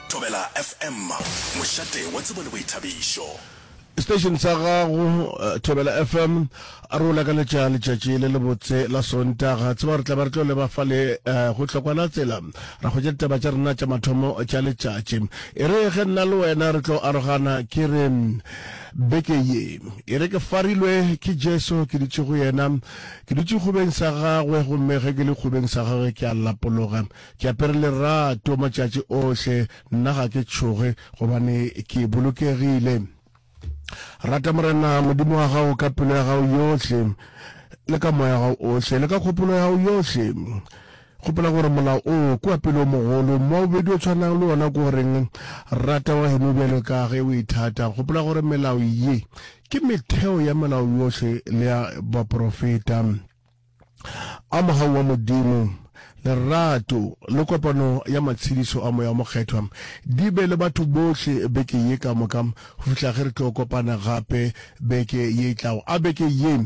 Thobela FM, mošate wa tsebo le boithabišo. Station sa gago Thobela FM a re o lakaletša letšatši le lebotse la Sontaga. Tseba re tla ba re tlo leba fale go hlokwa la tsela ra hwetša ditaba tša rena tša mathomo tša letšatši. E re ge nna le wena re tlo arogana ke re beke ye e re ke farilwe ke Jesu ke dutše go yena ke dutše kgobeng sa gagwe gomme ge ke le kgobeng sa gagwe ke a lapologa ke apere lerato matšatši ohle Nna ga ke tšhoge, gobane ke bolokegile. Rata Morena Modimo wa gago ka pelo ya gago yohle, le ka moya wa gago ohle, le ka kgopolo ya gago yohle. Gopola gore molao o ke wa pele o mogolo. Mo wa bobedi o tshwanang le wona ke o reng, Rata wa geno bjalo ka ge o ithata. Gopola gore melao ye ke metheo ya melao yohle le ya baporofeta. A mogau wa Modimo, lerato, le kopano ya matshedišo a Moya o Mokgethwa di be le batho bohle beke ye ka moka go fihla ge re tlo kopana gape beke ye e tlago. A beke ye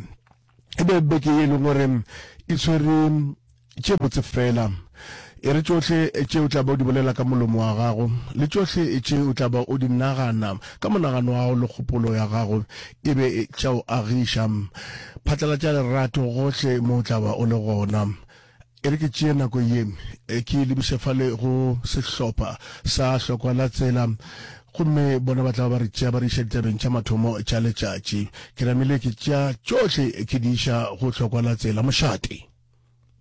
e be beke ye e leng gore e tshwere tše botse fela. E re tšohle tše o tla ba o di bolela ka molomo wa gago, le tšohle tše o tla ba o di nagana ka monagano wa gago le kgopolo ya gago, e be tša o agiša. Phatlalatša lerato gohle mo o tla ba o le gona. E re ke tšee nako ye ke e lebiše fale go sehlopha sa Hlokwa la Tsela, gomme bona ba tla ba ba re tšea ba re iša ditabeng tša mathomo tša letšatši. Ke namile ke tšea tšohle ke di iša go Hlokwa la Tsela. Mošate.